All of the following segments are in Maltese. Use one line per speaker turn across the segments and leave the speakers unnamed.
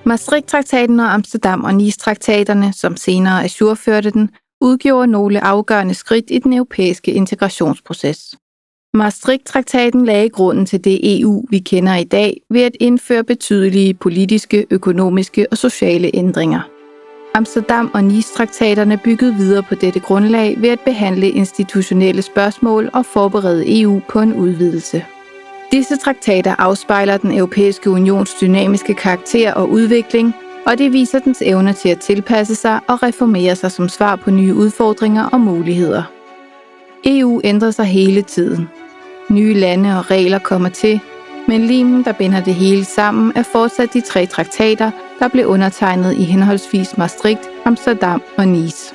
Maastricht-traktaten og Amsterdam og Nice-traktaterne, som senere ajourførte den, udgjorde nogle afgørende skridt i den europæiske integrationsproces. Maastricht-traktaten lagde grunden til det EU, vi kender i dag, ved at indføre betydelige politiske, økonomiske og sociale ændringer. Amsterdam og Nice-traktaterne byggede videre på dette grundlag ved at behandle institutionelle spørgsmål og forberede EU på en udvidelse. Disse traktater afspejler den europæiske unions dynamiske karakter og udvikling, og det viser dens evne til at tilpasse sig og reformere sig som svar på nye udfordringer og muligheder. EU ændrer sig hele tiden. Nye lande og regler kommer til, men limen, der binder det hele sammen, er fortsat de tre traktater, der blev undertegnet i henholdsvis Maastricht, Amsterdam og Nice.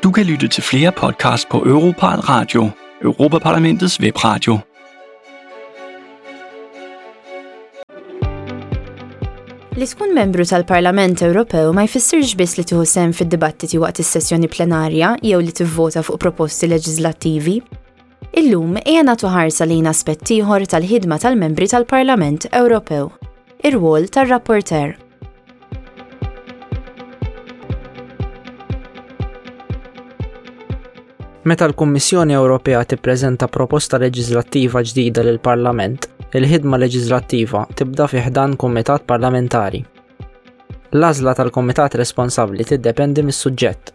Du kan lytte til flere podcasts på Europarl Radio, Europaparlamentets webradio.
Li tkun membru tal-Parlament Ewropew ma jfissirx biss li tieħu sehem fid-dibattiti waqt is-sessjoni plenarja jew li tivvota fuq proposti leġislattivi. Illum ejja nagħtu ħarsa lejn aspett ieħor tal-ħidma tal-membri tal-Parlament Ewropew, ir-rwol tar-rapporteur.
Meta l-Kummissjoni Ewropea tippreżenta proposta leġiżlattiva ġdida lill-Parlament, il-ħidma leġiżlattiva tibda fi ħdan kumitat parlamentari. L-għażla tal-kumitat responsabbli tiddependi mis-suġġett.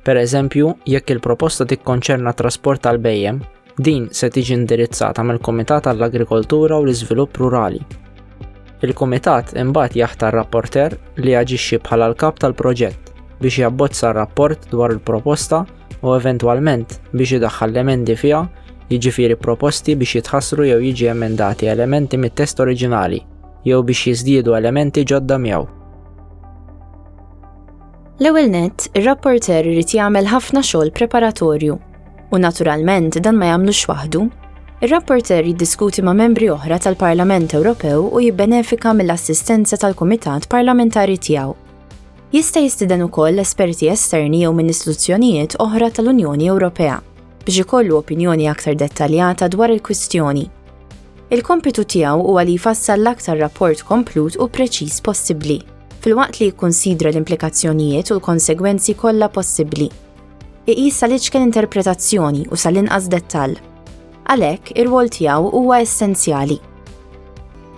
Per eżempju, jekk il-proposta tikkonċerna t-trasport tal-bhejjem, din se tiġi indirizzata mill-Kumitat għall-Agrikoltura u l-Iżvilupp Rurali. Il-kumitat imbagħad jaħtar rapporteur li jaġixxi bħala l-kap tal-proġett biex jabbozza r-rapport dwar il-proposta u eventwalment biex idaħħal l-emendi fiha, jiġifieri proposti biex jitħassru jew jiġi emendati elementi mit-test oriġinali jew biex jiżdiedu elementi ġodda miegħu.
L-ewwel nett, ir-rapporteur irid jagħmel ħafna xogħol preparatorju. U naturalment dan ma jagħmlux waħdu. Ir-rapporteur jiddiskuti ma' membri oħra tal-Parlament Ewropew u jibbenefika mill-assistenza tal-kumitat parlamentari tiegħu. Jista' jistieden ukoll esperti esterni jew minn istituzzjonijiet oħra tal-Unjoni Ewropea biex ikollu opinjoni aktar dettaljata dwar il-kwistjoni. Il-kompitu tiegħu huwa li jfassal l-aktar rapport komplut u preċiż possibbli, filwaqt li jikkunsidra l-implikazzjonijiet u l-konsegwenzi kollha possibbli. Iqis sal-iċken interpretazzjoni u sal-inqas dettall. Għalhekk, ir-rwol tiegħu huwa essenzjali.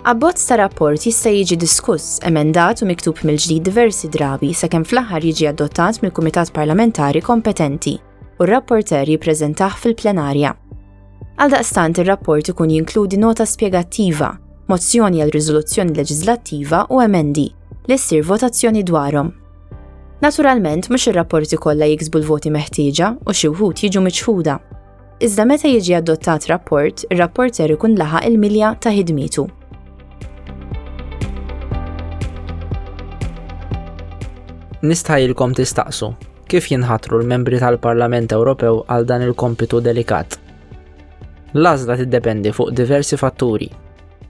Abbozz ta' rapport jista' jiġi diskuss, emendat u miktub mill-ġdid diversi drabi sakemm fl-aħħar jiġi adottat mill-kumitat parlamentari kompetenti u r-rapporteur jippreżentah fil-plenarja. Għaldaqstant ir-rapport ikun jinkludi nota spjegattiva, mozzjoni għal riżoluzzjoni leġiżlattiva u emendi, li ssir votazzjoni dwarhom. Naturalment, mhux ir-rapporti kollha jiksbu l-voti meħtieġa u xi wħud jiġu miċħuda. Iżda meta jiġi adottat rapport, ir-rapporter ikun laħaq il-milja ta' ħidmietu.
Nistħajjilkom tistaqsu, Kif jinħatru l-membri tal-Parlament Ewropew għal dan il-kompitu delikat? L-għażla tiddependi fuq diversi fatturi.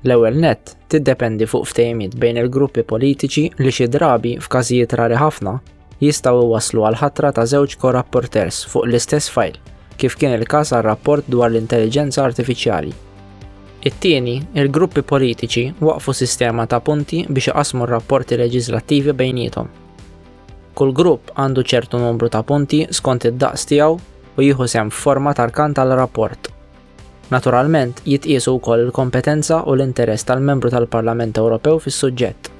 L-ewwel nett, tiddependi fuq ftehimiet bejn il-gruppi politiċi li xi drabi, f'każijiet rari ħafna, jistgħu jwasslu għall-ħatra ta' żewġ co-rapporteurs fuq l-istess fajl, kif kien il-każ għar-rapport dwar l-intelliġenza artifiċjali. It-tieni, il-gruppi politiċi waqqfu sistema ta' punti biex iqassmu r-rapporti leġiżlattivi bejniethom. Kull grupp għandu ċertu numru ta' punti skont id-daqs tiegħu u jieħu sehem f'forma ta' rkant għal rapport. Naturalment, jitqiesu wkoll il-kompetenza u l-interess tal-Membru tal-Parlament Ewropew fis-suġġett.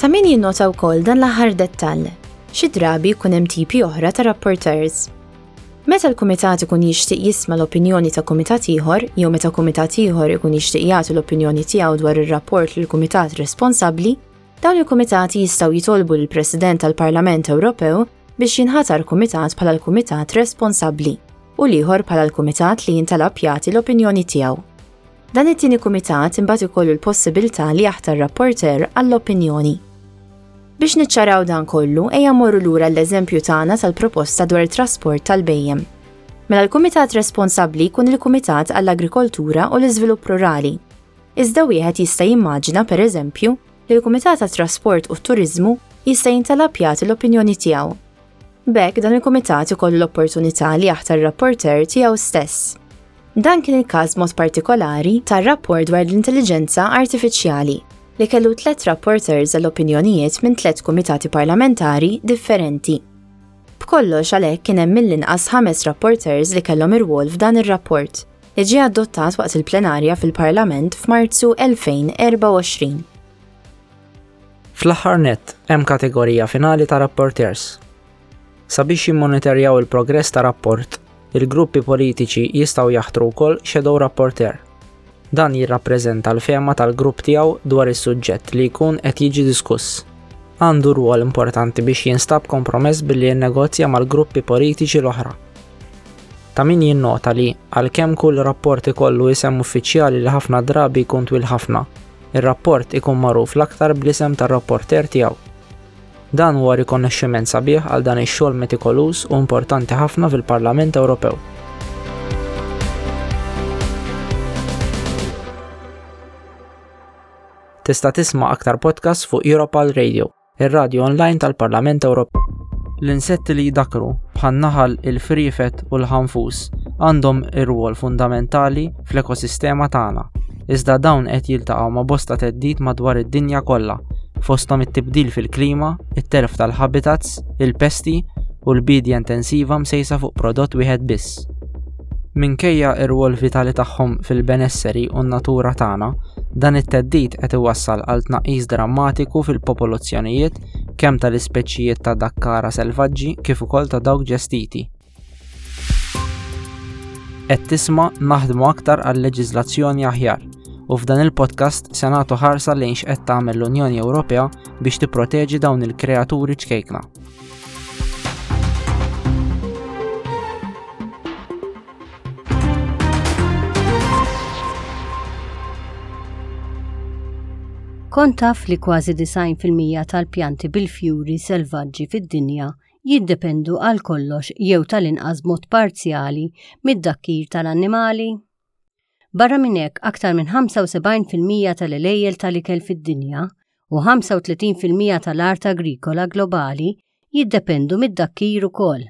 Ta' min jinnota wkoll dan l-aħħar dettall. Xi drabi jkun hemm tipi oħra ta' rapporteurs. Meta l-kumitat ikun jixtieq jisma' l-opinjoni ta' kumitat ieħor jew meta kumitat ieħor ikun jixtieq jagħti l-opinjoni tiegħu dwar ir-rapport lill-kumitat responsabbli, dawn il-kumitati jistgħu jitolbu lill-President tal-Parlament Ewropew biex jinħatar kumitat bħala l-kumitat responsabbli u l-ieħor bħala l-kumitat li jintalab jagħti l-opinjoni tiegħu. Dan it-tieni kumitat imbagħad ikollu l-possibilità li jaħtar rapporteur għall-opinjoni. Biex niċċaraw dan kollu, ejja mmorru lura l-eżempju tagħna tal-proposta dwar it-trasport tal-bhejjem. Mela l-kumitat responsabbli jkun il-Kumitat għall-Agrikoltura u l-Iżvilupp Rurali. Iżda wieħed jista' jimmaġina, per eżempju, li l-Kumitat għat-Trasport u t-Turiżmu jista' jintalab jagħti l-opinjoni tiegħu. B'hekk dan il-kumitat ikollu l-opportunità li jaħtar rapporteur tiegħu stess. Dan kien il-każ mod partikolari tar-rapport dwar l-intelliġenza artifiċjali li kellu tlet rapporteurs għall-opinjonijiet minn tlet kumitati parlamentari differenti. B'kollox għalhekk kien hemm mill-inqas ħames rapporteurs li kellhom irwol f'dan ir-rapport, li ġie adottat waqt il-plenarja fil-Parlament f'Marzu 2024.
Fl-aħħar nett, hemm kategorija finali ta' rapporteurs. Sabiex jimmonitorjaw il-progress ta' rapport, il-gruppi politiċi jistgħu jaħtru wkoll shadow rapporteur. Dan jirrappreżenta l-fehma tal-grupp tiegħu dwar is-suġġett li jkun qed jiġi diskuss. Għandu rwol importanti biex jinstab kompromess billi jinnegozja mal-gruppi politiċi l-oħra. Ta' min jinnota li, għalkemm kull rapport ikollu isem uffiċjali li ħafna drabi jkun twil ħafna, ir-rapport ikun magħruf l-aktar bl-isem tar-rapporteur tiegħu. Dan huwa rikonoxximent sabiħ għal dan ix-xogħol metikoluż u importanti ħafna fil-Parlament Ewropew. Tista' tisma' aktar podcasts fuq Europal Radio, ir-radju online tal-Parlament Ewropew. L-insetti li jdakkru, bħan-naħal, il-friefet u l-ħanfus, għandhom irwol fundamentali fl-ekosistema tagħna. Iżda dawn qed jiltaqgħu ma' bosta theddid madwar id-dinja kollha, fosthom it-tibdil fil-klima, it-telf tal-ħabitats, il-pesti u l-biedja intensiva msejsa fuq prodott wieħed biss. Minkejja r-rwol vitali tagħhom fil-benesseri u n-natura tagħna, dan it-theddid qed iwassal għal tnaqqis drammatiku fil-popolazzjonijiet kemm tal-ispeċijiet ta' dakkara selvaġġi kif ukoll ta' dawk ġestiti. Qed tisma' naħdmu aktar għal leġiżlazzjoni aħjar u f'dan il-podcast se nagħtu ħarsa lejn x'qed tagħmel l-Unjoni Ewropea biex tipproteġi dawn il-kreaturi ċkejkna.
Kont taf li kważi 90% tal-pjanti bil-fjuri selvaġġi fid-dinja jiddependu għal kollox jew tal-inqas b'mod parzjali mid-dakkir tal-annimali. Barra minn hekk, aktar minn 75% tal-għelejjel tal-ikel fid-dinja u 35% tal-art agrikola globali jiddependu mid-dakkir ukoll.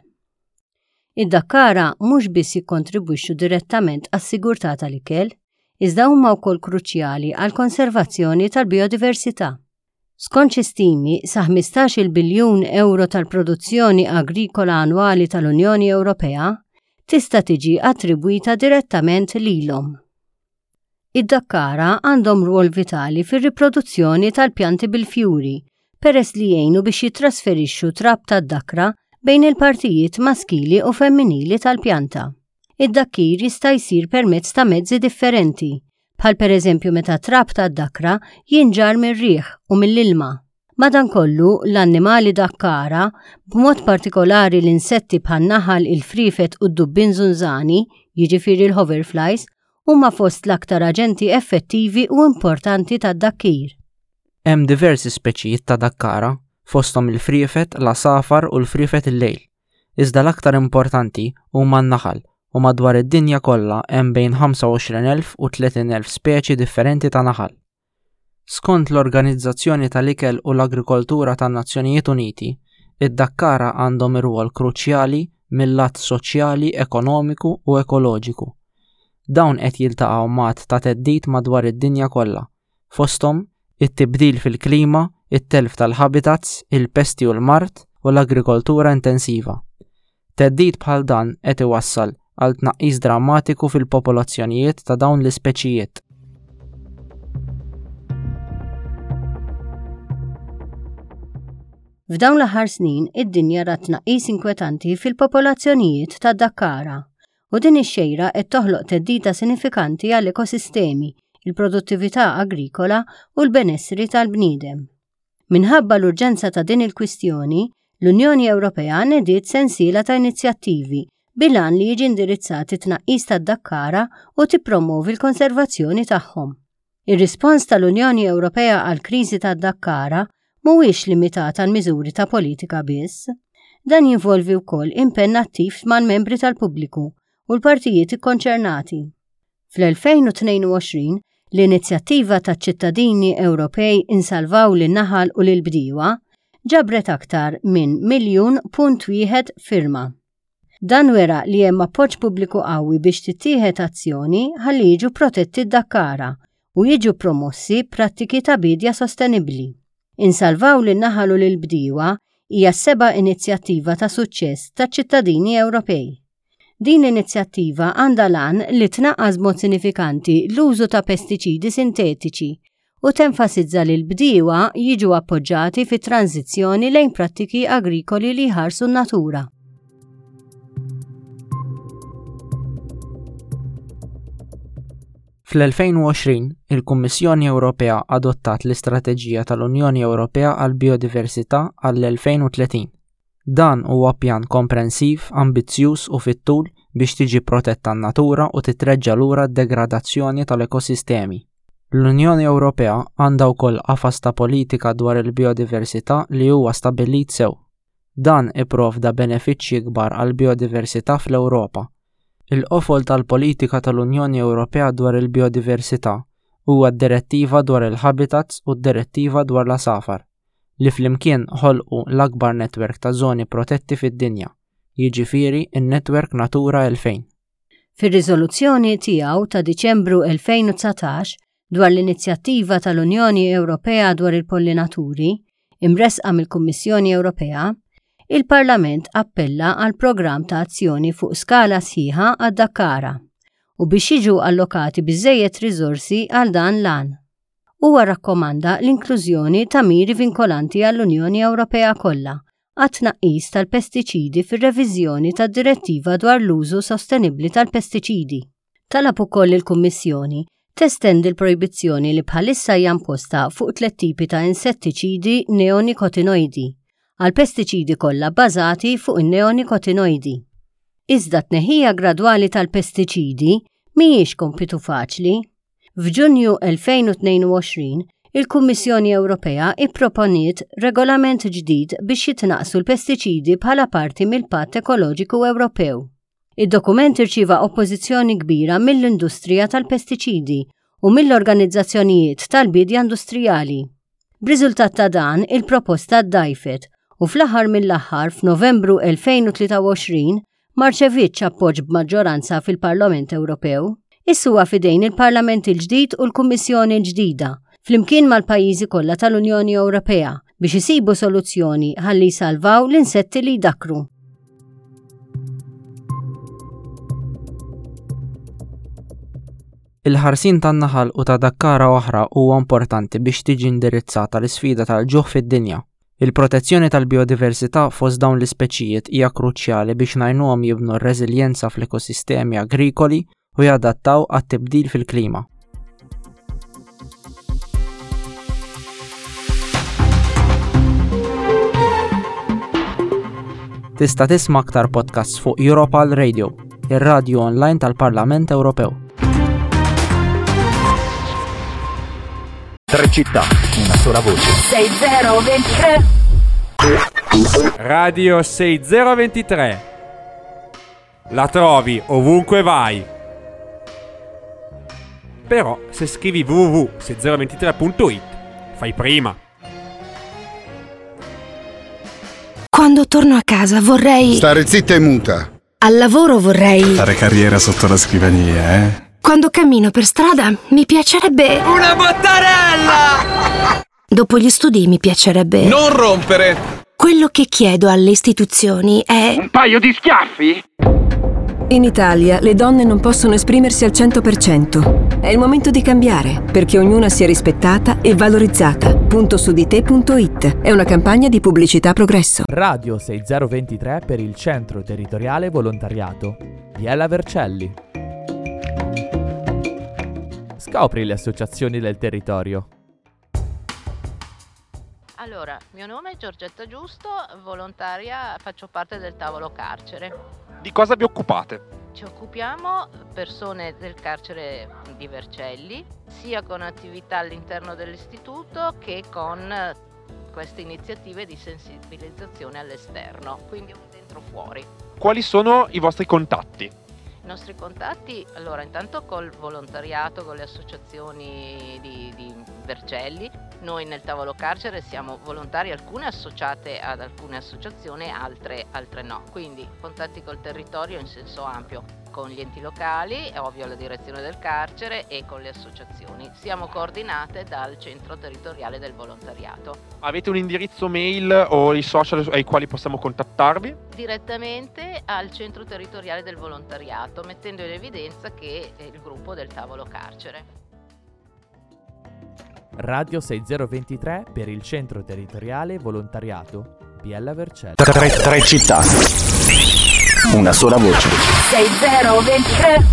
Id-dakkara mhux biss jikkontribwixxu direttament għas-sigurtà tal-ikel, iżda huma wkoll kruċjali għall-konservazzjoni tal-bijodiversità. Skont xi stimi, sa 15-il biljun ewro tal-produzzjoni agrikola annwali tal-Unjoni Ewropea tista' tiġi attribwita direttament lilhom. Id-dakkara għandhom rwol vitali fir-riproduzzjoni tal-pjanti bil-fjuri peress li jgħinu biex jittrasferixxu trab tad-dakra bejn il-partijiet maskili u femminili tal-pjanta. Id-dakkir jista' jsir permezz ta' mezzi differenti, bħal pereżempju meta trab tad-dakra jinġarr mir-riħ u mill-ilma. Madankollu, l-annimali dakkara, b'mod partikolari l-insetti bħan-naħal, il-friefet u d-dubbien żunżani, jiġifieri l-hoverflies, huma fost l-aktar aġenti effettivi u importanti tad-dakkir.
Hemm diversi speċijiet ta' dakkara, fosthom il-friefet, l-għasafar u l-friefet il-lejl. Iżda l-aktar importanti huma n-naħal u madwar id-dinja kollha hemm bejn 25,000 u 30,000 speċi differenti ta' naħal. Skont l-Organizzazzjoni tal-Ikel u l-Agrikoltura tan-Nazzjonijiet Uniti, id-dakkara għandhom irwol kruċjali mil-lat soċjali, ekonomiku u ekoloġiku. Dawn qed jiltaqgħu m'għadd ta' theddid madwar id-dinja kollha, fosthom it-tibdil fil-klima, it-telf tal-ħabitats, il-pesti u l-mard, u l-agrikoltura intensiva. Theddid bħal dan qed iwassal għal tnaqqis drammatiku fil-popolazzjonijiet ta' dawn l-ispeċijiet.
F'dawn l-aħħar snin, id-dinja rat tnaqqis inkwetanti fil-popolazzjonijiet tad-dakkara, u din ix-xejra qed toħloq theddida sinifikanti għall-ekosistemi, il-produttività agrikola u l-benessri tal-bniedem. Minħabba l-urġenza ta' din il-kwistjoni, l-Unjoni Ewropea nediet sensiela ta' inizjattivi bil-għan li jiġi indirizzat it-tnaqqis tad-dakkara u tippromwovi l-konservazzjoni tagħhom. Ir-rispons tal-Unjoni Ewropea għall-kriżi tad-dakkara mhuwiex limitat għal miżuri ta' politika biss. Dan jinvolvi wkoll impenn attiv mal-membri tal-pubbliku u l-partijiet ikkonċernati. Fl-2022, l-inizjattiva taċ-ċittadini Ewropej Insalvaw lin-Naħal u lill-Bdiewa. ġabret aktar minn 1.1 firma. Dan wera li hemm appoġġ pubbliku qawwi biex tittieħed azzjoni ħalli jiġu protetti d-dakkara u jiġu promossi prattiki ta' biedja sostenibbli. Insalvaw lin-naħal u lill-bdiewa hija s-seba' inizjattiva ta' suċċess taċ-ċittadini Ewropej. Din l-inizjattiva għandha l-għan li tnaqqas b'mod sinifikanti l-użu ta' pestiċidi sintetiċi u tenfasizza li l-bdiewa jiġu appoġġati fit-tranżizzjoni lejn prattiki agrikoli li jħarsu n-natura.
Fl-2020, il-Kummissjoni Ewropea adottat l-Istrateġija tal-Unjoni Ewropea għall-Bijodiversità għall-2030. Dan huwa pjan komprensiv, ambizzjuż u fit-tul biex tiġi protetta n-natura u titreġġa' lura d-degradazzjoni tal-ekosistemi. L-Unjoni Ewropea għandha wkoll qafas ta' politika dwar il-bijodiversità li huwa stabbilit sew. Dan ipprovda benefiċċji kbar għall-bijodiversità fl-Ewropa. Il-qofol tal-politika tal-Unjoni Ewropea dwar il-bijodiversità huwa d-Direttiva dwar il-Ħabitats u d-Direttiva dwar l-Għasafar. li flimkien ħolqu l-akbar netwerk ta' żoni protetti fid-dinja, jiġifieri n-netwerk Natura 2000.
Fir-riżoluzzjoni tiegħu ta' Diċembru 2019 dwar l-inizjattiva tal-Unjoni Ewropea dwar il-pollinaturi, imressqa mill-Kummissjoni Ewropea, il-Parlament appella għal programm ta' azzjoni fuq skala sħiħa għad-dakkara u biex jiġu allokati biżżejjed riżorsi għal dan l-għan. Huwa rrakkomanda l-inklużjoni ta' miri vinkolanti għall-Unjoni Ewropea kollha għat-tnaqqis tal-pestiċidi fir-reviżjoni tad-Direttiva dwar l-Użu Sostenibbli tal-Pestiċidi. Talab ukoll lill-Kummissjoni testendi l-projbizzjoni li bħalissa hija imposta fuq tliet tipi ta' insettiċidi neonikotinoidi għall-pestiċidi kollha bbażati fuq in-neonikotinoidi. Iżda t-tneħħija gradwali tal-pestiċidi mhijiex kompitu faċli. F'Ġunju 2022, il-Kummissjoni Ewropea ipproponiet regolament ġdid biex jitnaqqsu l-pestiċidi bħala parti mill-Patt Ekoloġiku Ewropew. Id-dokument irċieva oppożizzjoni kbira mill-industrija tal-pestiċidi u mill-organizzazzjonijiet tal-biedja industrijali. B'riżultat ta' dan, il-proposta ddgħajfet u fl-aħħar mill-aħħar f'Novembru 2023 ma rċevietx appoġġ b'maġġoranza fil-Parlament Ewropew. Issa huwa f'idejn il-Parlament il-ġdid u l-Kummissjoni l-ġdida, flimkien mal-pajjiżi kollha tal-Unjoni Ewropea, biex isibu soluzzjoni ħalli jsalvaw l-insetti li jdakkru.
Il-ħarsien tan-naħal u ta' dakkara oħra huwa importanti biex tiġi indirizzata l-isfida tal-ġuħ fid-dinja. Il-protezzjoni tal-bijodiversità fost dawn l-ispeċijiet hija kruċjali biex ngħinuhom jibnu r-reżiljenza fl-ekosistemi agrikoli u jadattaw għat-tibdil fil-klima. Tista' tisma' aktar podcasts fuq Europal Radio, ir-radju online tal-Parlament Ewropew.
Tre città, una sola voce.
6023
Radio 6023. La trovi ovunque vai. Però se scrivi www.6023.it fai prima.
Quando torno a casa vorrei...
Stare zitta e muta.
Al lavoro vorrei...
Fare carriera sotto la scrivania, eh?
Quando cammino per strada mi piacerebbe...
Una bottarella!
Dopo gli studi mi piacerebbe...
Non rompere!
Quello che chiedo alle istituzioni è...
Un paio di schiaffi?
In Italia le donne non possono esprimersi al 100%. È il momento di cambiare, perché ognuna sia rispettata e valorizzata. Punto su di te.it è una campagna di pubblicità progresso.
Radio 6023 per il Centro Territoriale Volontariato Biella Vercelli. Scopri le associazioni del territorio.
Allora, mio nome è Giorgetta Giusto, volontaria, faccio parte del tavolo carcere.
Di cosa vi occupate?
Ci occupiamo persone del carcere di Vercelli, sia con attività all'interno dell'istituto che con queste iniziative di sensibilizzazione all'esterno, quindi un dentro fuori.
Quali sono i vostri contatti?
I nostri contatti, allora intanto col volontariato, con le associazioni di, di Vercelli. Noi nel tavolo carcere siamo volontari, alcune associate ad alcune associazioni, altre, altre no. Quindi contatti col territorio in senso ampio, con gli enti locali, è ovvio la direzione del carcere e con le associazioni. Siamo coordinate dal centro territoriale del volontariato.
Avete un indirizzo mail o i social ai quali possiamo contattarvi?
Direttamente al centro territoriale del volontariato, mettendo in evidenza che è il gruppo del tavolo carcere.
Radio 6023 per il Centro Territoriale Volontariato Biella Vercelli.
Tre, tre città. Una sola voce.
6023.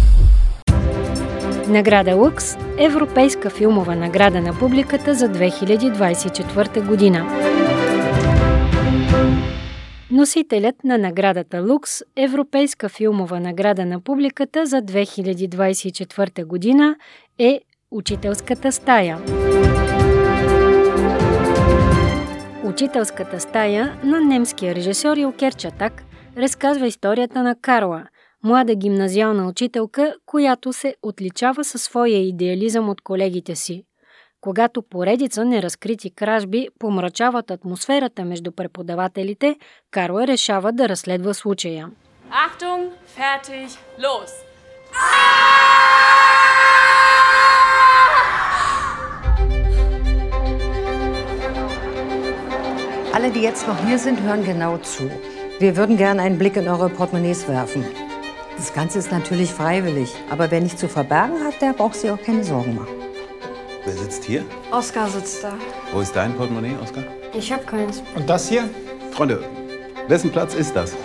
Награда Лукс – Европейска филмова награда на публиката за 2024 година. Носителят на наградата Лукс, Европейска филмова награда на публиката за 2024 година е Учителската стая. Учителската стая на немския режисьор Илкер Чатак разказва историята на Карла, млада гимназиална учителка, която се отличава със своя идеализъм от колегите си. Когато поредица неразкрити кражби помрачават атмосферата между преподавателите, Карла решава да разследва случая.
Achtung, fertig, los!
Alle, die jetzt noch hier sind, hören genau zu. Wir würden gerne einen Blick in eure Portemonnaies werfen. Das Ganze ist natürlich freiwillig, aber wer nichts zu verbergen hat, der braucht sich auch keine Sorgen machen.
Wer sitzt hier?
Oskar sitzt da.
Wo ist dein Portemonnaie, Oskar?
Ich habe keins.
Und das hier? Freunde, wessen Platz ist das?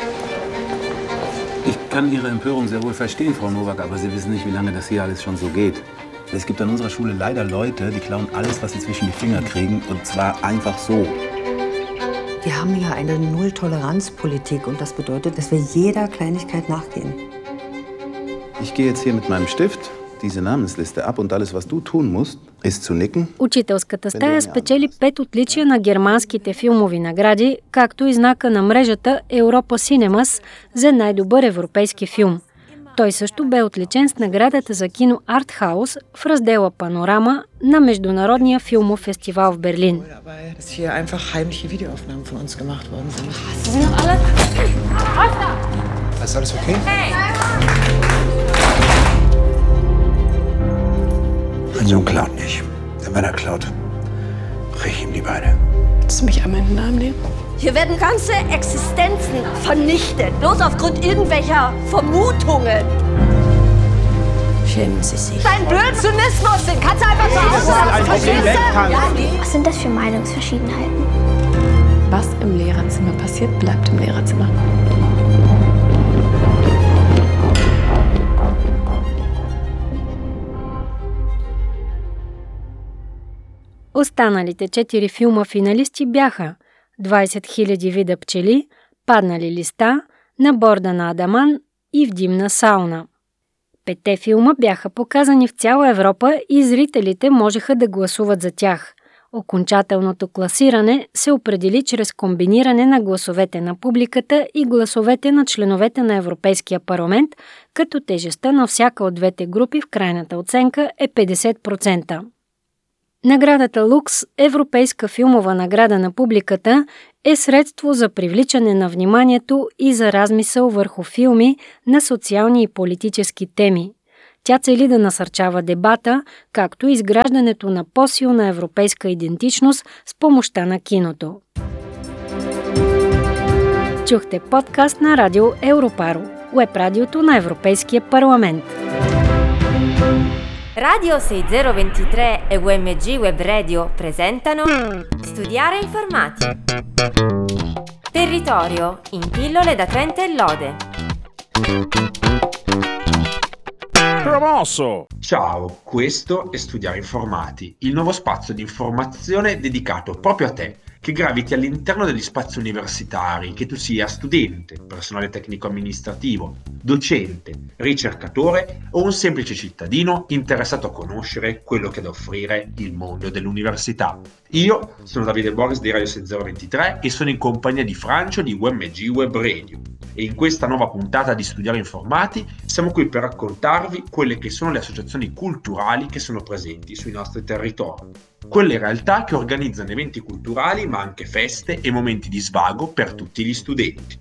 Ich kann Ihre Empörung sehr wohl verstehen, Frau Nowak, aber Sie wissen nicht, wie lange das hier alles schon so geht. Es gibt an unserer Schule leider Leute, die klauen alles, was sie zwischen die Finger kriegen, und zwar einfach so.
Wir haben hier eine Null-Toleranz-Politik und das bedeutet, dass wir jeder Kleinigkeit nachgehen.
Ich gehe jetzt hier mit meinem Stift diese Namensliste ab und alles, was du tun musst, ist zu nicken.
Учителската стая спечели пет отличия на германските филмови награди, както и знака на мрежата Europa Cinemas за най-добър европейски филм. Той също бе отличен с наградата за кино Артхаус в раздела Панорама на Международния филмов фестивал в Берлин.
Dass hier einfach heimliche Videoaufnahmen von uns gemacht worden sind.
Sind noch alle? Oskar!
Ist alles okay?
Hey!
Mein Sohn klaut nicht. Denn wenn er klaut, brech ich ihm die Beine.
Willst du mich einmal in den Arm nehmen?
Hier werden ganze Existenzen vernichtet, bloß aufgrund irgendwelcher Vermutungen.
Schämen Sie sich.
Dein blöden Zynismus, den kannst du einfach zu Hause lassen, verstehst du?
Was sind das für Meinungsverschiedenheiten?
Was im Lehrerzimmer passiert, bleibt im Lehrerzimmer.
Останалите четири филма финалисти бяха 20 000 вида пчели, Паднали листа, На борда на Адаман и В димна сауна. Петте филма бяха показани в цяла Европа и зрителите можеха да гласуват за тях. Окончателното класиране се определи чрез комбиниране на гласовете на публиката и гласовете на членовете на Европейския парламент, като тежестта на всяка от двете групи в крайната оценка е 50%. Наградата Лукс, Европейска филмова награда на публиката, е средство за привличане на вниманието и за размисъл върху филми на социални и политически теми. Тя цели да насърчава дебата, както и изграждането на по-силна европейска идентичност с помощта на киното. Чухте подкаст на Радио Европаро, уеб радиото на Европейския парламент.
Radio 6023 e UMG Web Radio presentano Studiare Informati. Territorio in pillole da 30 e lode.
Promosso! Ciao, questo è Studiare Informati, il nuovo spazio di informazione dedicato proprio a te, che graviti all'interno degli spazi universitari, che tu sia studente, personale tecnico-amministrativo, docente, ricercatore o un semplice cittadino interessato a conoscere quello che ha da offrire il mondo dell'università. Io sono Davide Boris di Radio 6023 e sono in compagnia di Francio di UMG Web Radio. E in questa nuova puntata di Studiare Informati siamo qui per raccontarvi quelle che sono le associazioni culturali che sono presenti sui nostri territori. quelle realtà che organizzano eventi culturali ma anche feste e momenti di svago per tutti gli studenti.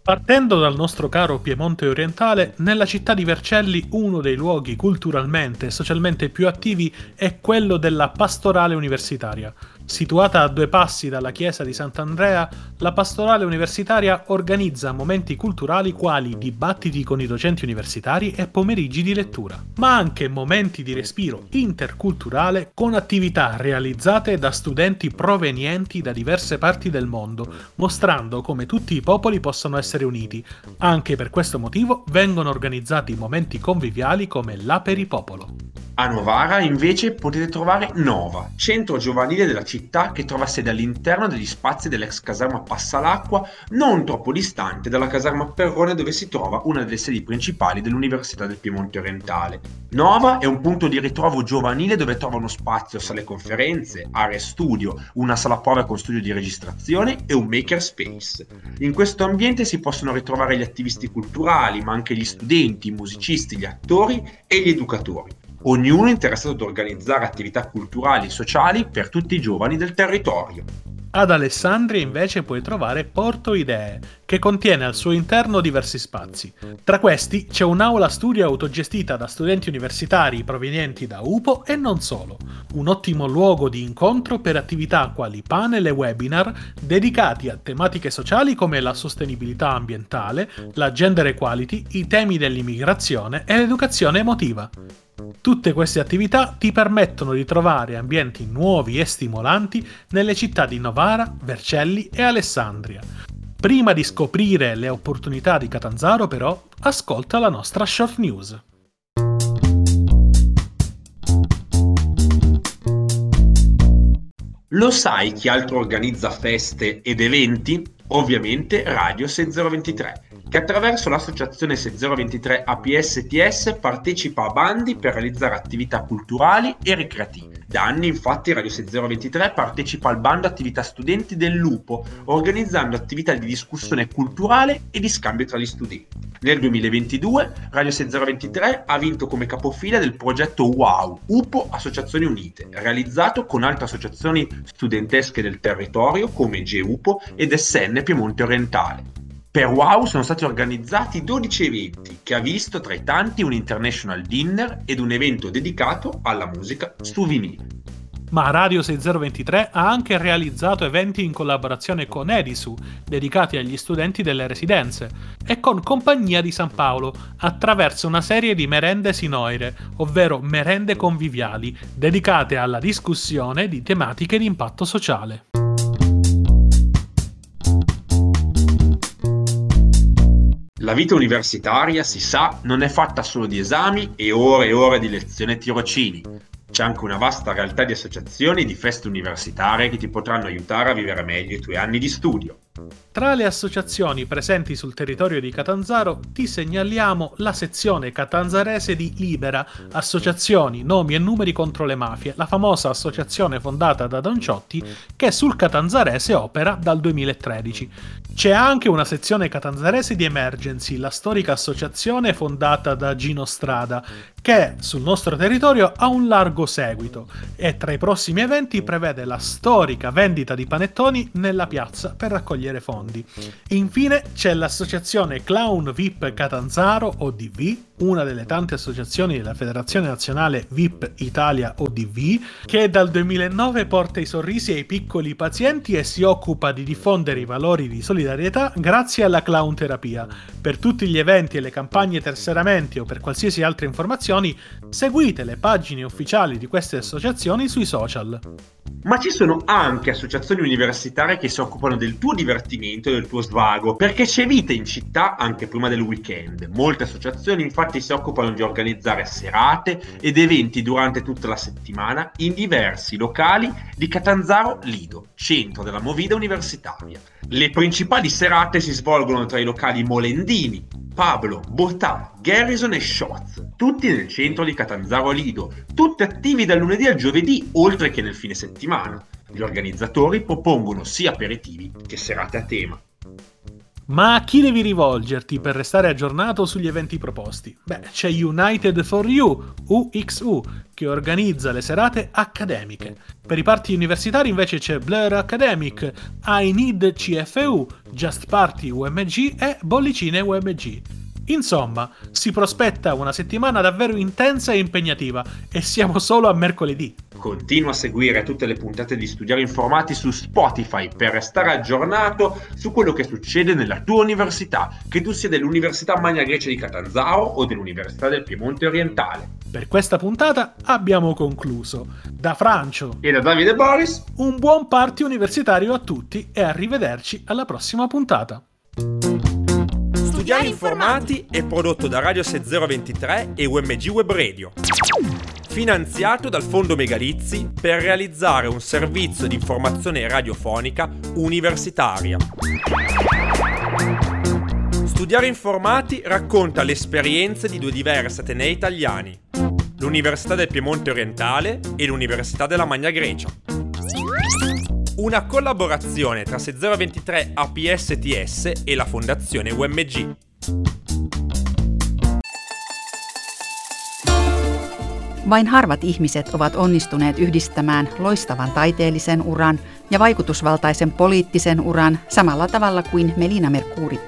Partendo dal nostro caro Piemonte orientale, nella città di Vercelli uno dei luoghi culturalmente e socialmente più attivi è quello della pastorale universitaria. Situata a due passi dalla chiesa di Sant'Andrea, la pastorale universitaria organizza momenti culturali quali dibattiti con i docenti universitari e pomeriggi di lettura, ma anche momenti di respiro interculturale con attività realizzate da studenti provenienti da diverse parti del mondo, mostrando come tutti i popoli possano essere uniti. Anche per questo motivo vengono organizzati momenti conviviali come l'Aperipopolo.
A Novara invece potete trovare Nova, centro giovanile della città che trova sede all'interno degli spazi dell'ex caserma Passalacqua, non troppo distante dalla caserma Perrone dove si trova una delle sedi principali dell'Università del Piemonte Orientale. Nova è un punto di ritrovo giovanile dove trovano spazio sale conferenze, aree studio, una sala prove con studio di registrazione e un makerspace. In questo ambiente si possono ritrovare gli attivisti culturali, ma anche gli studenti, i musicisti, gli attori e gli educatori. Ognuno interessato ad organizzare attività culturali e sociali per tutti i giovani del territorio.
Ad Alessandria invece puoi trovare Porto Idee, che contiene al suo interno diversi spazi. Tra questi c'è un'aula studio autogestita da studenti universitari provenienti da UPO e non solo. Un ottimo luogo di incontro per attività quali panel e webinar dedicati a tematiche sociali come la sostenibilità ambientale, la gender equality, i temi dell'immigrazione e l'educazione emotiva. Tutte queste attività ti permettono di trovare ambienti nuovi e stimolanti nelle città di Novara, Vercelli e Alessandria. Prima di scoprire le opportunità di Catanzaro, però, ascolta la nostra short news.
Lo sai chi altro organizza feste ed eventi? Ovviamente Radio 6023, che attraverso l'associazione 6023 APSTS partecipa a bandi per realizzare attività culturali e ricreative. Da anni infatti Radio 6023 partecipa al bando attività studenti dell'UPO, organizzando attività di discussione culturale e di scambio tra gli studenti. Nel 2022 Radio 6023 ha vinto come capofila del progetto WOW, UPO Associazioni Unite, realizzato con altre associazioni studentesche del territorio come GEUPO ed SN Piemonte Orientale. Per WOW sono stati organizzati 12 eventi, che ha visto tra i tanti un international dinner ed un evento dedicato alla musica su vinile.
Ma Radio 6023 ha anche realizzato eventi in collaborazione con Edisu, dedicati agli studenti delle residenze, e con Compagnia di San Paolo, attraverso una serie di merende sinoire, ovvero merende conviviali, dedicate alla discussione di tematiche di impatto sociale.
La vita universitaria, si sa, non è fatta solo di esami e ore e ore di lezione e tirocini. C'è anche una vasta realtà di associazioni e di feste universitarie che ti potranno aiutare a vivere meglio i tuoi anni di studio.
Tra le associazioni presenti sul territorio di Catanzaro ti segnaliamo la sezione catanzarese di Libera, Associazioni, Nomi e Numeri contro le Mafie, la famosa associazione fondata da Don Ciotti che sul catanzarese opera dal 2013. C'è anche una sezione catanzarese di Emergency, la storica associazione fondata da Gino Strada, che sul nostro territorio ha un largo seguito e tra i prossimi eventi prevede la storica vendita di panettoni nella piazza per raccogliere fondi. Infine c'è l'associazione Clown VIP Catanzaro ODV, una delle tante associazioni della Federazione Nazionale VIP Italia ODV, che dal 2009 porta i sorrisi ai piccoli pazienti e si occupa di diffondere i valori di solidarietà grazie alla clown terapia. Per tutti gli eventi e le campagne tesseramenti o per qualsiasi altra informazione, seguite le pagine ufficiali di queste associazioni sui social.
Ma ci sono anche associazioni universitarie che si occupano del tuo divertimento e del tuo svago, perché c'è vita in città anche prima del weekend. Molte associazioni infatti si occupano di organizzare serate ed eventi durante tutta la settimana in diversi locali di Catanzaro Lido, centro della movida universitaria. Le principali serate si svolgono tra i locali Molendini, Pablo, Bottà, Garrison e Shots, tutti nel centro di Catanzaro Lido, tutti attivi dal lunedì al giovedì, oltre che nel fine settimana. Gli organizzatori propongono sia aperitivi che serate a tema.
Ma a chi devi rivolgerti per restare aggiornato sugli eventi proposti? Beh, c'è United for You, UXU, che organizza le serate accademiche. Per i party universitari invece c'è Blur Academic, I Need CFU, Just Party UMG e Bollicine UMG. Insomma, si prospetta una settimana davvero intensa e impegnativa e siamo solo a mercoledì.
Continua a seguire tutte le puntate di Studiare Informati su Spotify per restare aggiornato su quello che succede nella tua università, che tu sia dell'Università Magna Grecia di Catanzaro o dell'Università del Piemonte Orientale.
Per questa puntata abbiamo concluso. Da Francio
e da Davide Boris,
un buon party universitario a tutti e arrivederci alla prossima puntata.
Studiare Informati è prodotto da Radio 6023 e UMG Web Radio. Finanziato dal Fondo Megalizzi per realizzare un servizio di informazione radiofonica universitaria. Studiare Informati racconta le esperienze di due diversi atenei italiani, l'Università del Piemonte Orientale e l'Università della Magna Grecia. Una collaborazione tra 6023 APSTS e la Fondazione UMG.
Vain harvat ihmiset ovat onnistuneet yhdistämään loistavan taiteellisen uran ja vaikutusvaltaisen poliittisen uran samalla tavalla kuin Melina Mercouri.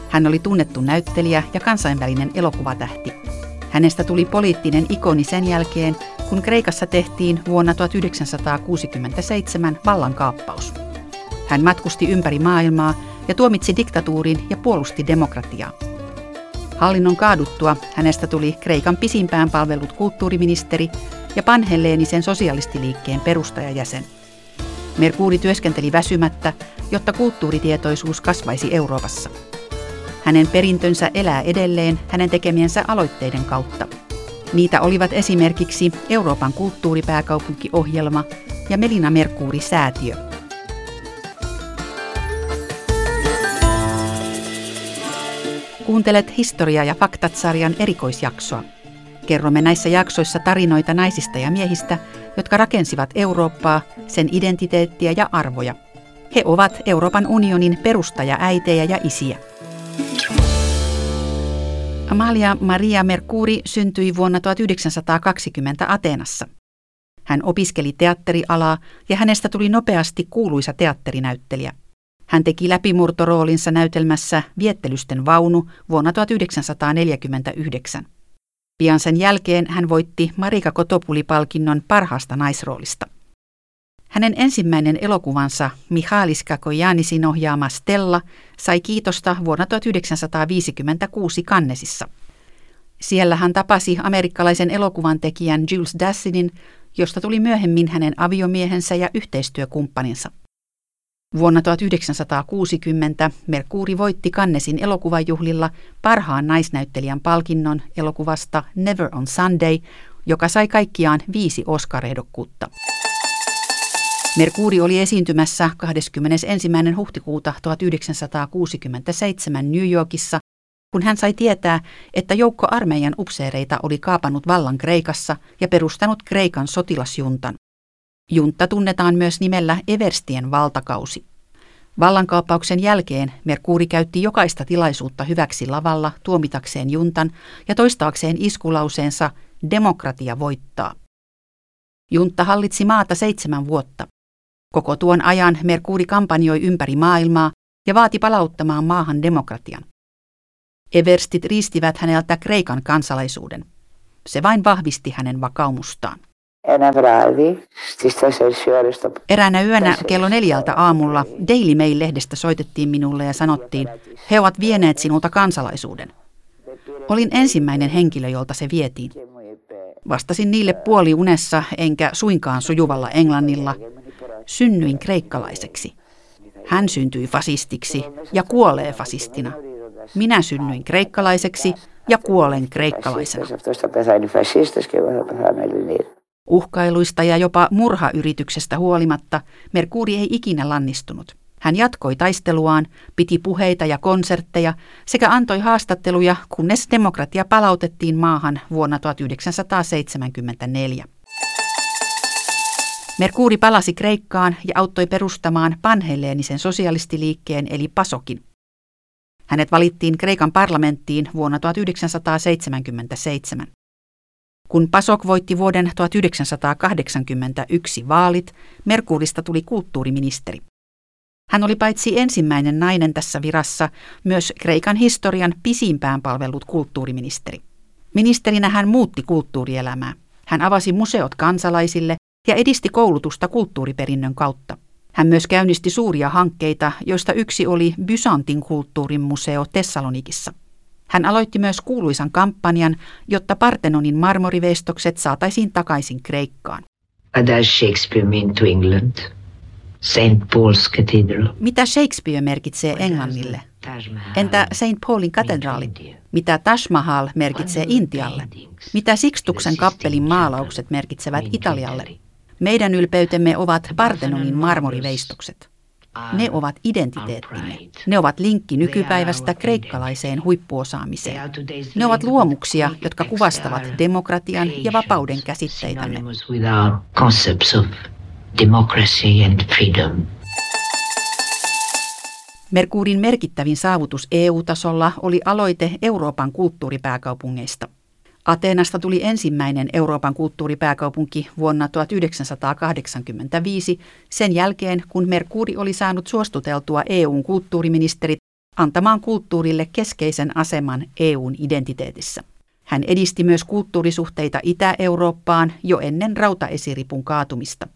Hän oli tunnettu näyttelijä ja kansainvälinen elokuvatähti. Hänestä tuli poliittinen ikoni sen jälkeen, kun Kreikassa tehtiin vuonna 1967 vallankaappaus. Hän matkusti ympäri maailmaa ja tuomitsi diktatuurin ja puolusti demokratiaa. Hallinnon kaaduttua hänestä tuli Kreikan pisimpään palvellut kulttuuriministeri ja panhelleenisen sosialistiliikkeen perustajajäsen. Mercouri työskenteli väsymättä, jotta kulttuuritietoisuus kasvaisi Euroopassa. Hänen perintönsä elää edelleen hänen tekemiensä aloitteiden kautta. Niitä olivat esimerkiksi Euroopan kulttuuripääkaupunkiohjelma ja Melina Mercouri-säätiö. Kuuntelet Historia ja faktat-sarjan erikoisjaksoa. Kerromme näissä jaksoissa tarinoita naisista ja miehistä, jotka rakensivat Eurooppaa, sen identiteettiä ja arvoja. He ovat Euroopan unionin perustajaäitejä ja isiä. Amalia Maria Mercouri syntyi vuonna 1920 Ateenassa. Hän opiskeli teatterialaa ja hänestä tuli nopeasti kuuluisa teatterinäyttelijä. Hän teki läpimurtoroolinsa näytelmässä Viettelysten vaunu vuonna 1949. Pian sen jälkeen hän voitti Marika Kotopuli-palkinnon parhaasta naisroolista. Hänen ensimmäinen elokuvansa Michalis Cacoyannisin ohjaama Stella sai kiitosta vuonna 1956 Cannesissa. Siellä hän tapasi amerikkalaisen elokuvan tekijän Jules Dassinin, josta tuli myöhemmin hänen aviomiehensä ja yhteistyökumppaninsa. Vuonna 1960 Mercouri voitti Cannesin elokuvajuhlilla parhaan naisnäyttelijän palkinnon elokuvasta Never on Sunday, joka sai kaikkiaan 5 Oscar-ehdokkuutta. Mercouri oli esiintymässä 21. huhtikuuta 1967 New Yorkissa, kun hän sai tietää, että joukko armeijan upseereita oli kaapannut vallan Kreikassa ja perustanut Kreikan sotilasjuntan. Juntta tunnetaan myös nimellä Everstien valtakausi. Vallankaappauksen jälkeen Mercouri käytti jokaista tilaisuutta hyväksi lavalla tuomitakseen juntan ja toistaakseen iskulauseensa "Demokratia voittaa". Juntta hallitsi maata 7 vuotta. Koko tuon ajan Mercouri kampanjoi ympäri maailmaa ja vaati palauttamaan maahan demokratian. Everstit riistivät häneltä Kreikan kansalaisuuden. Se vain vahvisti hänen vakaumustaan. Eräänä yönä kello 4 aamulla Daily Mail-lehdestä soitettiin minulle ja sanottiin, he ovat vieneet sinulta kansalaisuuden. Olin ensimmäinen henkilö, jolta se vietiin. Vastasin niille puoliunessa enkä suinkaan sujuvalla englannilla. Synnyin kreikkalaiseksi. Hän syntyi fasistiksi ja kuolee fasistina. Minä synnyin kreikkalaiseksi ja kuolen kreikkalaisena. Uhkailuista ja jopa murhayrityksestä huolimatta Mercouri ei ikinä lannistunut. Hän jatkoi taisteluaan, piti puheita ja konsertteja sekä antoi haastatteluja, kunnes demokratia palautettiin maahan vuonna 1974. Mercouri palasi Kreikkaan ja auttoi perustamaan panhelleenisen sosialistiliikkeen eli PASOKin. Hänet valittiin Kreikan parlamenttiin vuonna 1977. Kun PASOK voitti vuoden 1981 vaalit, Merkourista tuli kulttuuriministeri. Hän oli paitsi ensimmäinen nainen tässä virassa, myös Kreikan historian pisimpään palvellut kulttuuriministeri. Ministerinä hän muutti kulttuurielämää. Hän avasi museot kansalaisille ja edisti koulutusta kulttuuriperinnön kautta. Hän myös käynnisti suuria hankkeita, joista yksi oli Byzantin kulttuurin museo Tessalonikissa. Hän aloitti myös kuuluisan kampanjan, jotta Parthenonin marmoriveistokset saataisiin takaisin Kreikkaan.
What does Shakespeare mean to England? St. Paul's Cathedral.
Mitä Shakespeare merkitsee Englannille? Entä St. Paulin katedraali? Mitä Taj Mahal merkitsee Intialle? Mitä Sixtuksen kappelin maalaukset merkitsevät Italialle? Meidän ylpeytemme ovat Parthenonin marmoriveistokset. Ne ovat identiteettimme. Ne ovat linkki nykypäivästä kreikkalaiseen huippuosaamiseen. Ne ovat luomuksia, jotka kuvastavat demokratian ja vapauden käsitteitämme.
Synonymous with our concepts of democracy and freedom.
Merkourin merkittävin saavutus EU-tasolla oli aloite Euroopan kulttuuripääkaupungeista. Ateenasta tuli ensimmäinen Euroopan kulttuuripääkaupunki vuonna 1985 sen jälkeen, kun Merkouri oli saanut suostuteltua EU:n kulttuuriministerit antamaan kulttuurille keskeisen aseman EU:n identiteetissä. Hän edisti myös kulttuurisuhteita Itä-Eurooppaan jo ennen rautaesiripun kaatumista.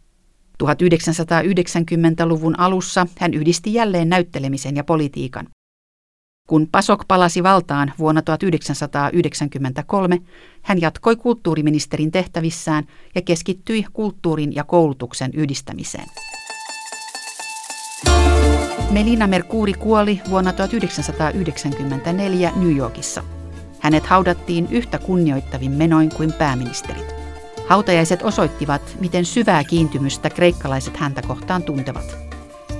1990-luvun alussa hän yhdisti jälleen näyttelemisen ja politiikan. Kun PASOK palasi valtaan vuonna 1993, hän jatkoi kulttuuriministerin tehtävissään ja keskittyi kulttuurin ja koulutuksen yhdistämiseen. Melina Mercouri kuoli vuonna 1994 New Yorkissa. Hänet haudattiin yhtä kunnioittavin menoin kuin pääministerit. Hautajaiset osoittivat, miten syvää kiintymystä kreikkalaiset häntä kohtaan tuntevat.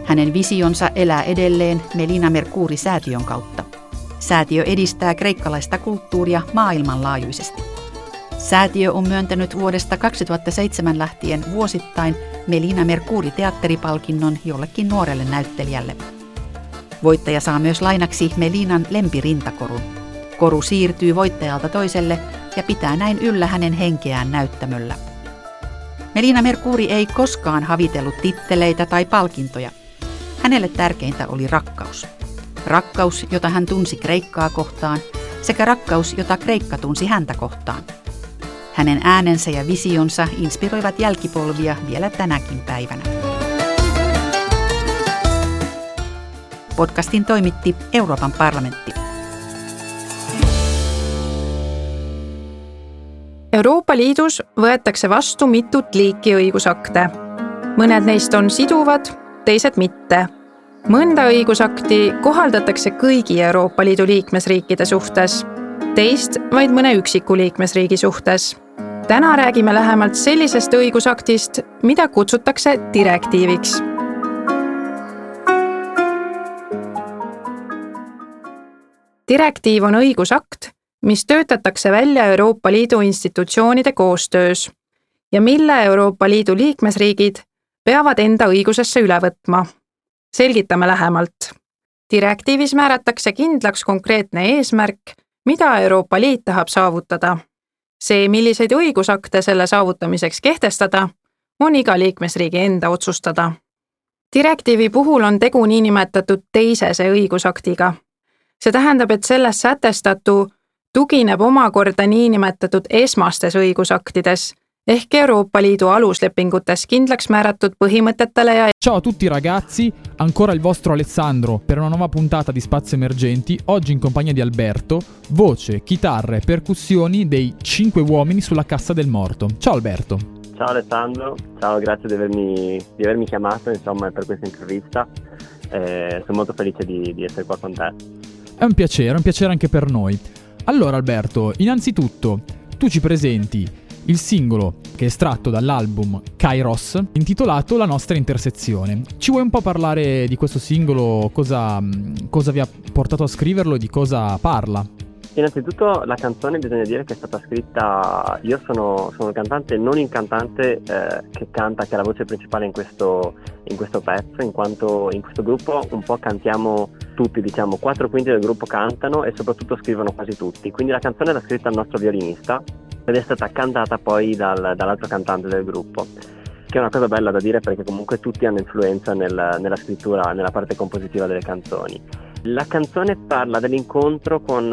Hänen visionsa elää edelleen Melina Mercouri-säätiön kautta. Säätiö edistää kreikkalaista kulttuuria maailmanlaajuisesti. Säätiö on myöntänyt vuodesta 2007 lähtien vuosittain Melina Mercouri-teatteripalkinnon jollekin nuorelle näyttelijälle. Voittaja saa myös lainaksi Melinan lempirintakorun. Koru siirtyy voittajalta toiselle ja pitää näin yllä hänen henkeään näyttämöllä. Melina Mercouri ei koskaan havitellut titteleitä tai palkintoja. Hänelle tärkeintä oli rakkaus. Rakkaus, jota hän tunsi Kreikkaa kohtaan, sekä rakkaus, jota Kreikka tunsi häntä kohtaan. Hänen äänensä ja visionsa inspiroivat jälkipolvia vielä tänäkin päivänä. Podcastin toimitti Euroopan parlamentti.
Euroopa Liidus võetakse vastu mitut liiki õigusakte. Mõned neist on siduvad, teised mitte. Mõnda õigusakti kohaldatakse kõigi Euroopa Liidu liikmesriikide suhtes, teist vaid mõne üksiku liikmesriigi suhtes. Täna räägime lähemalt sellisest õigusaktist, mida kutsutakse direktiiviks. Direktiiv on õigusakt, mis töötatakse välja Euroopa Liidu institutsioonide koostöös ja mille Euroopa Liidu liikmesriigid peavad enda õigusesse üle võtma. Selgitame lähemalt. Direktiivis määratakse kindlaks konkreetne eesmärk, mida Euroopa Liit tahab saavutada. See, milliseid õigusakte selle saavutamiseks kehtestada, on iga liikmesriigi enda otsustada. Direktiivi puhul on tegu niinimetatud teisese õigusaktiga. See tähendab, et selles sätestatu tugineb omakorda niinimetatud esmastes õigusaktides ehk Euroopa Liidu aluslepingutes kindlaks määratud põhimõtetele ja
Ciao a tutti ragazzi, ancora il vostro Alessandro per una nuova puntata di Spazio Emergenti, oggi in compagnia di Alberto, voce, chitarra e percussioni dei 5 uomini sulla cassa del morto. Ciao Alberto.
Ciao Alessandro, ciao, grazie di avermi chiamato, insomma, per questa intervista. Sono molto felice di essere qua con te.
È un piacere anche per noi. Allora Alberto, innanzitutto tu ci presenti il singolo che è estratto dall'album Kairos, intitolato La nostra intersezione. Ci vuoi un po' parlare di questo singolo? Cosa vi ha portato a scriverlo e di cosa parla?
Innanzitutto la canzone bisogna dire che è stata scritta, io sono, sono il cantante, non il cantante eh, che canta, che è la voce principale in questo, in questo pezzo, in quanto in questo gruppo un po' cantiamo tutti, diciamo, quattro quinti del gruppo cantano e soprattutto scrivono quasi tutti. Quindi la canzone l'ha scritta il nostro violinista ed è stata cantata poi dal, dall'altro cantante del gruppo che è una cosa bella da dire perché comunque tutti hanno influenza nel, nella scrittura, nella parte compositiva delle canzoni. La canzone parla dell'incontro con,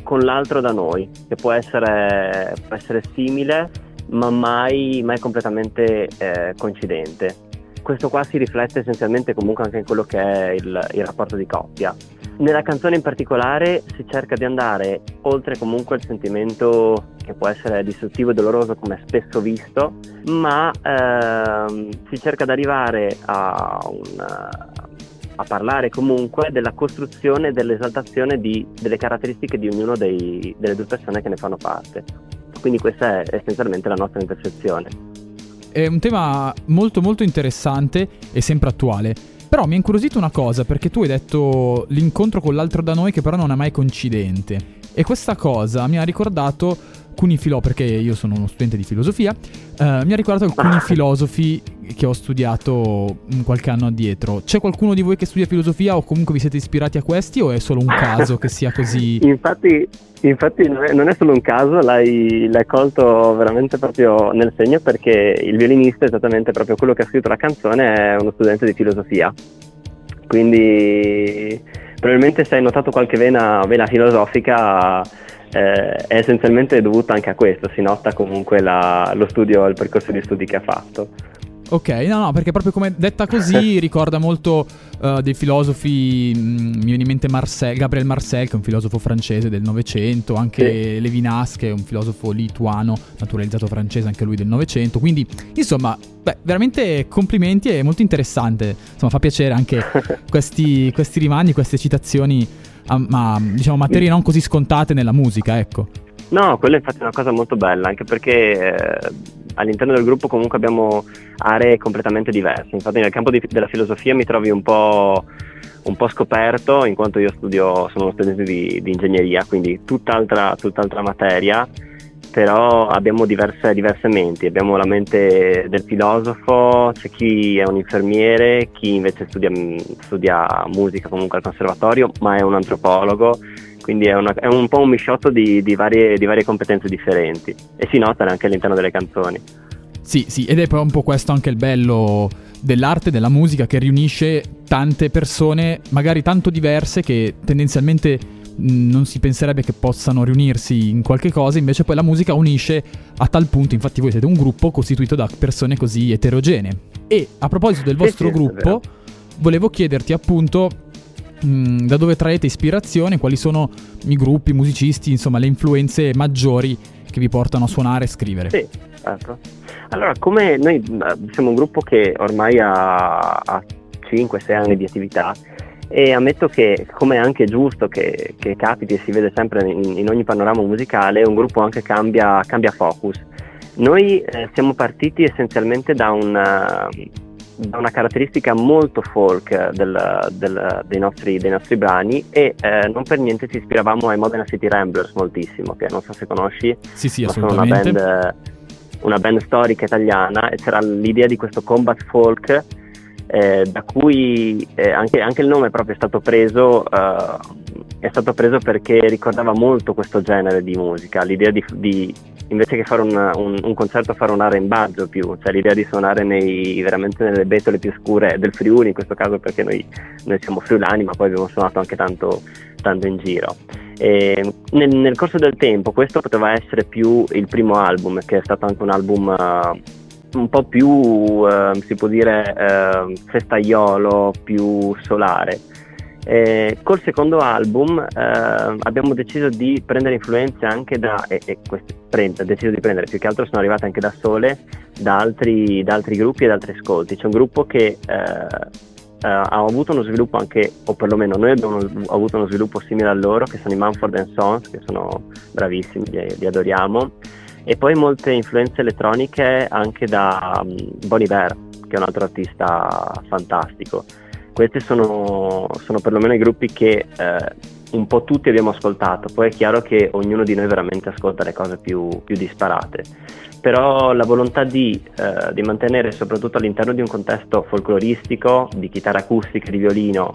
con l'altro da noi, che può essere, può essere simile, ma mai, mai completamente eh, coincidente. Questo qua si riflette essenzialmente comunque anche in quello che è il, il rapporto di coppia. Nella canzone in particolare si cerca di andare oltre comunque il sentimento che può essere distruttivo e doloroso come spesso visto, ma ehm, si cerca di arrivare a, un, a parlare comunque della costruzione e dell'esaltazione di, delle caratteristiche di ognuno dei, delle due persone che ne fanno parte. Quindi questa è essenzialmente la nostra intersezione.
È un tema molto molto interessante e sempre attuale. Però mi ha incuriosito una cosa, perché tu hai detto l'incontro con l'altro da noi che però non è mai coincidente. E questa cosa mi ha ricordato alcuni filò, perché io sono uno studente di filosofia, eh, mi ha ricordato alcuni filosofi che ho studiato qualche anno addietro. C'è qualcuno di voi che studia filosofia o comunque vi siete ispirati a questi o è solo un caso che sia così?
Infatti, infatti non, è, non è solo un caso, l'hai, l'hai colto veramente proprio nel segno perché il violinista, esattamente proprio quello che ha scritto la canzone, è uno studente di filosofia. Quindi probabilmente se hai notato qualche vena, vena filosofica eh, è essenzialmente dovuta anche a questo, si nota comunque la, lo studio, il percorso di studi che ha fatto.
Ok, no, no, perché proprio come detta così ricorda molto uh, dei filosofi, mh, mm, mi viene in mente Marcel, Gabriel Marcel, che è un filosofo francese del Novecento, anche sì. Levinas, che è un filosofo lituano, naturalizzato francese anche lui del Novecento, quindi insomma, beh, veramente complimenti, è molto interessante, insomma fa piacere anche questi, questi rimandi, queste citazioni a, ma, diciamo, materie non così scontate nella musica, ecco.
No, quella infatti è una cosa molto bella, anche perché eh, all'interno del gruppo comunque abbiamo aree completamente diverse. Infatti nel campo di, della filosofia mi trovi un po', un po' scoperto, in quanto io studio, sono uno studente di, di ingegneria, quindi tutt'altra, tutt'altra materia, però abbiamo diverse, diverse menti, abbiamo la mente del filosofo, c'è chi è un infermiere, chi invece studia, studia musica comunque al conservatorio, ma è un antropologo, quindi è, una, è un po' un misciotto di, di, varie, di varie competenze differenti e si nota anche all'interno delle canzoni.
Sì, sì, ed è poi un po' questo anche il bello dell'arte, della musica, che riunisce tante persone, magari tanto diverse, che tendenzialmente non si penserebbe che possano riunirsi in qualche cosa, invece poi la musica unisce a tal punto, infatti voi siete un gruppo costituito da persone così eterogenee. E a proposito del vostro sì, sì, gruppo, volevo chiederti appunto mh, da dove traete ispirazione, quali sono i gruppi, i musicisti, insomma le influenze maggiori che vi portano a suonare e scrivere.
Sì, certo. Allora, come noi siamo un gruppo che ormai ha, ha 5-6 anni di attività e ammetto che, come è anche giusto che, che capiti e si vede sempre in, in ogni panorama musicale, un gruppo anche cambia, cambia focus. Noi eh, siamo partiti essenzialmente da una, da una caratteristica molto folk del, del, dei, nostri, dei nostri brani e eh, non per niente ci ispiravamo ai Modena City Ramblers moltissimo, che non so se conosci,
sì, sì, ma sono una
band, una band storica italiana e c'era l'idea di questo combat folk eh, da cui eh, anche, anche, il nome proprio è stato preso, eh, è stato preso perché ricordava molto questo genere di musica, l'idea di, di invece che fare un, un, un concerto fare un arrembaggio più, cioè l'idea di suonare nei, veramente nelle betole più scure del Friuli in questo caso perché noi, noi siamo friulani ma poi abbiamo suonato anche tanto, tanto in giro. E nel, nel corso del tempo questo poteva essere più il primo album, che è stato anche un album uh, un po' più, uh, si può dire, uh, festaiolo, più solare. Eh, col secondo album eh, abbiamo deciso di prendere influenze anche da, e, e queste prende, deciso di prendere, più che altro sono arrivate anche da sole, da altri, da altri gruppi e da altri ascolti. C'è un gruppo che eh, eh, ha avuto uno sviluppo anche, o perlomeno noi abbiamo avuto uno sviluppo simile a loro, che sono i Mumford Sons, che sono bravissimi, li, li adoriamo, e poi molte influenze elettroniche anche da um, Bon Iver, che è un altro artista fantastico. Questi sono, sono perlomeno i gruppi che eh, un po' tutti abbiamo ascoltato. Poi è chiaro che ognuno di noi veramente ascolta le cose più disparate, però la volontà di mantenere, soprattutto all'interno di un contesto folcloristico, di chitarra acustica, di violino,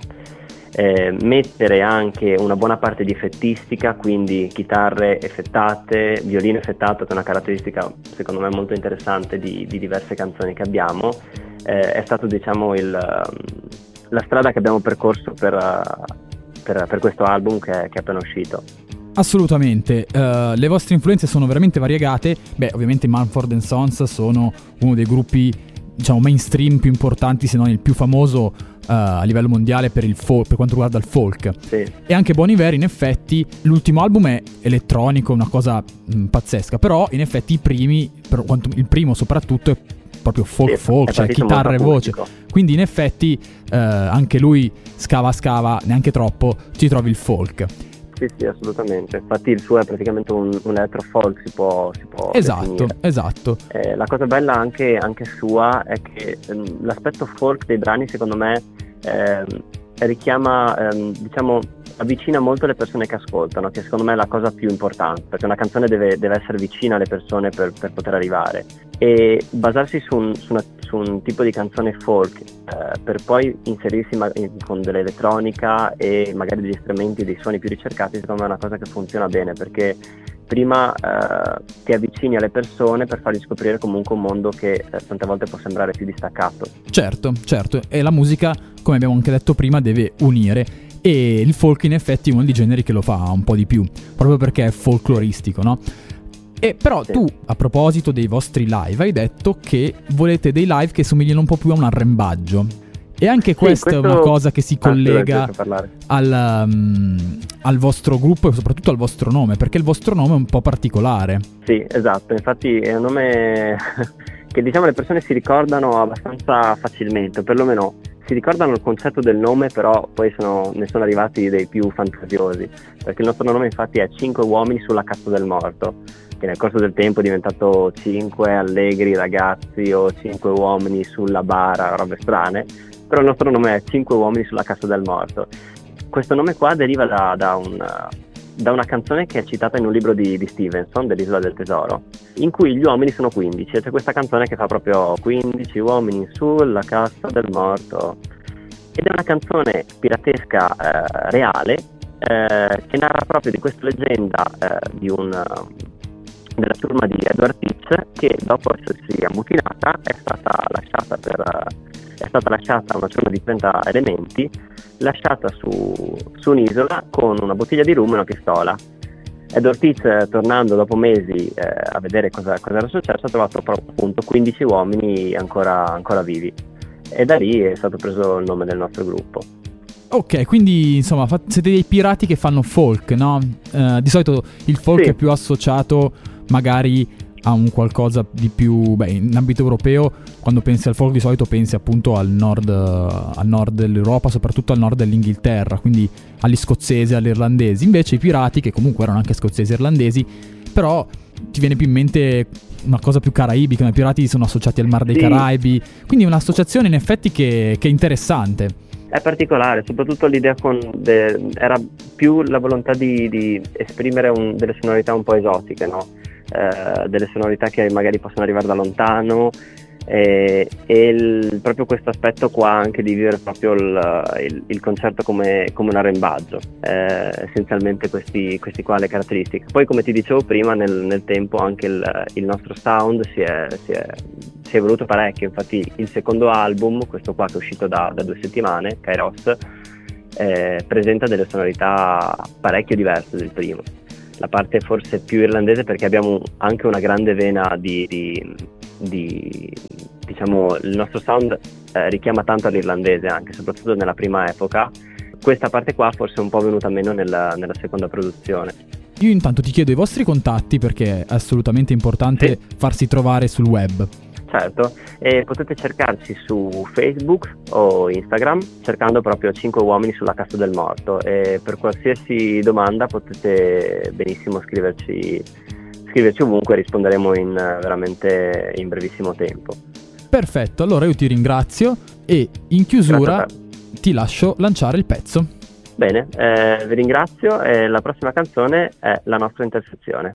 mettere anche una buona parte di effettistica, quindi chitarre effettate, violino effettato, che è una caratteristica secondo me molto interessante di diverse canzoni che abbiamo, è stato, diciamo, la strada che abbiamo percorso per questo album che è appena uscito.
Assolutamente, le vostre influenze sono veramente variegate. Beh, ovviamente Mumford & Sons sono uno dei gruppi, diciamo, mainstream più importanti, se non il più famoso a livello mondiale per il folk, per quanto riguarda il folk.
Sì.
E anche Bon Iver, in effetti, l'ultimo album è elettronico, una cosa pazzesca, però in effetti i primi, per quanto, il primo soprattutto è proprio folk,
sì,
folk, cioè chitarra e voce. Quindi in effetti anche lui scava, neanche troppo, ci trovi il folk.
Sì, sì, assolutamente. Infatti il suo è praticamente un electro folk, si può
esatto,
definire.
Esatto.
La cosa bella anche sua è che l'aspetto folk dei brani, secondo me, richiama, diciamo, avvicina molto le persone che ascoltano, che secondo me è la cosa più importante, perché una canzone deve essere vicina alle persone per poter arrivare, e basarsi su un tipo di canzone folk per poi inserirsi con dell'elettronica e magari degli strumenti, dei suoni più ricercati, secondo me è una cosa che funziona bene, perché prima ti avvicini alle persone per fargli scoprire comunque un mondo che tante volte può sembrare più distaccato.
Certo, certo, e la musica, come abbiamo anche detto prima, deve unire, e il folk in effetti è uno dei generi che lo fa un po' di più, proprio perché è folcloristico, no? E però
sì.
Tu, a proposito dei vostri live, hai detto che volete dei live che somigliano un po' più a un arrembaggio. E anche questa è una cosa che si collega al vostro gruppo e soprattutto al vostro nome, perché il vostro nome è un po' particolare.
Sì, esatto, infatti è un nome che, diciamo, le persone si ricordano abbastanza facilmente, o perlomeno si ricordano il concetto del nome, però poi ne sono arrivati dei più fantasiosi, perché il nostro nome infatti è 5 uomini sulla cassa del morto, che nel corso del tempo è diventato 5 allegri ragazzi o 5 uomini sulla bara, robe strane, però il nostro nome è 5 uomini sulla cassa del morto. Questo nome qua deriva da una canzone che è citata in un libro di Stevenson, dell'Isola del Tesoro, in cui gli uomini sono 15, e c'è questa canzone che fa proprio 15 uomini sulla cassa del morto, ed è una canzone piratesca reale, che narra proprio di questa leggenda della ciurma di Edward Teach, che dopo essersi ammutinata è stata lasciata una ciurma di 30 elementi, lasciata su un'isola con una bottiglia di rum e una pistola. Edward Teach, tornando dopo mesi a vedere cosa era successo, ha trovato proprio, appunto, 15 uomini ancora vivi, e da lì è stato preso il nome del nostro gruppo.
Ok, quindi insomma siete dei pirati che fanno folk, no? Di solito il folk
sì,
è più associato magari a un qualcosa di più, beh, in ambito europeo quando pensi al folk di solito pensi appunto al nord dell'Europa, soprattutto al nord dell'Inghilterra, quindi agli scozzesi, agli irlandesi. Invece i pirati, che comunque erano anche scozzesi e irlandesi, però ti viene più in mente una cosa più caraibica, i pirati sono associati al Mar dei
sì.
Caraibi, quindi è un'associazione in effetti che è interessante.
È particolare, soprattutto l'idea era più la volontà di esprimere delle sonorità un po' esotiche, no? Delle sonorità che magari possono arrivare da lontano, e proprio questo aspetto qua anche di vivere proprio il concerto come un arrembaggio, essenzialmente questi qua le caratteristiche. Poi, come ti dicevo prima, nel tempo anche il nostro sound si è evoluto parecchio. Infatti il secondo album, questo qua che è uscito da 2 settimane, Kairos, presenta delle sonorità parecchio diverse del primo. La parte forse più irlandese, perché abbiamo anche una grande vena di diciamo, il nostro sound richiama tanto all'irlandese, anche soprattutto nella prima epoca. Questa parte qua forse è un po' venuta meno nella seconda produzione.
Io intanto ti chiedo i vostri contatti, perché è assolutamente importante
sì,
farsi trovare sul web.
Certo, e potete cercarci su Facebook o Instagram cercando proprio 5 uomini sulla cassa del morto, e per qualsiasi domanda potete benissimo scriverci ovunque, risponderemo veramente in brevissimo tempo.
Perfetto, allora io ti ringrazio e in chiusura ti lascio lanciare il pezzo.
Bene, eh, vi ringrazio e la prossima canzone è La nostra intersezione.